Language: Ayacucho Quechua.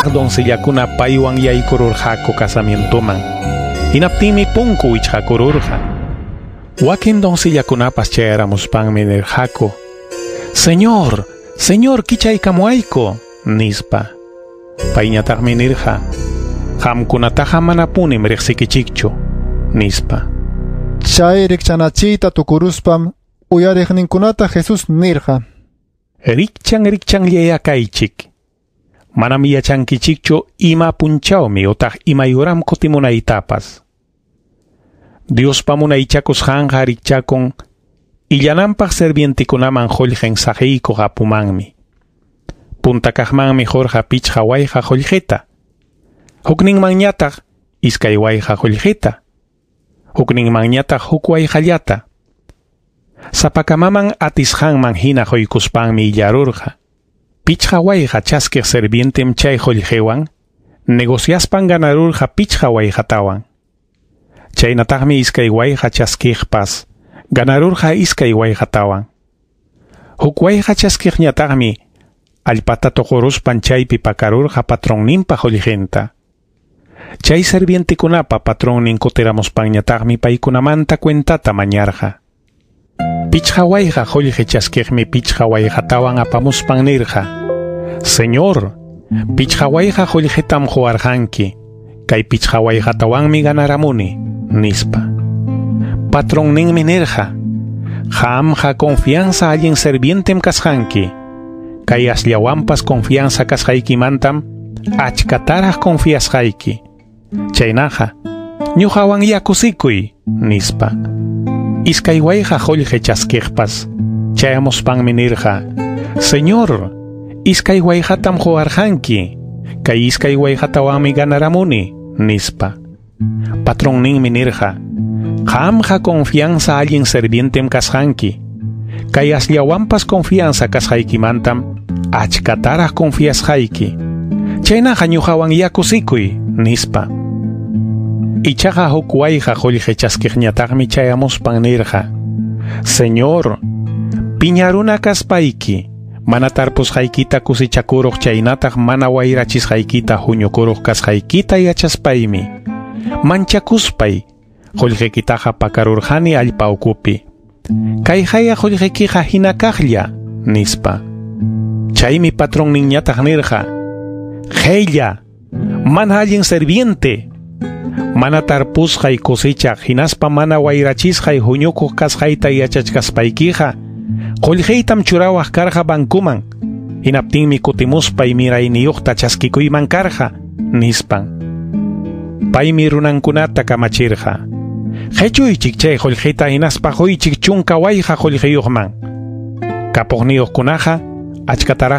kaq doncellakuna paywan yaykururqaku casamientoman. Hinaptinmi punku wichqakururqa. Wakin doncellakunapas chayaramuspanmi nirqaku: "Señor, Señor, kichaykamuwayku", nispa. Payñataqmi nirqa: "Qamkunataqa manapunim riqsikichikchu", nispa. Chay rikchanachiyta tukuruspam uyariqninkunata Jesús nirqa: Rikchan rikchanllaya kaychik. Manam yachankichikchu ima punchawmi utaq imay uram kutimunaytapas. Diospa munaychakusqanqa rikchakun illananpaq servientekunaman qullqin saqiykuq apumanmi. Punta kaqmanmi qurqa 5 wayqa qullqita. Hukninmanñataq 2 wayqa qullqita. Hukninmanñataq 1 wayqallata. Sapakamaman atisqanman hina quykuspanmi illarurqa. 5 wayqa chaskiq servientem chay qullqiwan negociaspan ganarurqa 5 wayqatawan. Chaynataqmi 2 wayqa chaskiqpas ganarurqa 2 wayqatawan. 1 wayqa chaskiqñataqmi allpata tuquruspan chaypi pakarurqa patronninpa qullqinta. Chay servientekunapa patronnin kutiramuspanñataqmi paykunamanta cuentata mañarqa. 5 wayqa qullqi chaskiqmi 5 wayqatawan apamuspan nirqa: "Señor, 5 wayqa qullqitam quwarqanki, kay 5 wayqatawanmi ganaramuni", nispa. Patronninmi nirqa: "Qamqa confianza allin servientem kasqanki, kay asllawanpas confianza kasqaykimantam achkataraq confiasqayki. Chaynaqa, ñuqawan yakusikuy", nispa. 2 wayqa qullqi chaskiqpas chayamuspanmi nirqa: "Señor, 2 wayqatam quwarqanki, kay 2 wayqatawanmi ganaramuni", nispa. Patronninmi nirqa: "Qamqa confianza allin servientem kasqanki, kay asllawanpas confianza kasqaykimantam achkataraq confiasqayki. Chaynaqa ñuqawan yakusikuy", nispa. Ichaqa 1 wayqa qullqi chaskiqñataqmi chayamuspan nirqa: "Señor, piñaruna kaspayki, mana tarpusqaykita kusichakuruq chaynataq mana wayrachisqaykita huñukuruq kasqaykita yachaspaymi manchakuspay qullqikitaqa pakarurqani allpa ukupi. Kayqaya qullqikiqa hina kaqlla", nispa. Chaymi patronninñataq nirqa: "Qhella, mana allin serviente, mana tarpusqay cosechaq hinaspa mana wayrachisqay huñukuq kasqayta yachachkaspaykiqa qullqiytam churawaq karqa bankuman, hinaptinmi kutimuspay mirayniyuqta chaskikuyman karqa", nispan. Paymi runankunata kamachirqa: "Qhichuychik chay qullqita hinaspa quychik 10 wayqa qullqiyuqman. Kapuqniyuqkunaqa achkataraq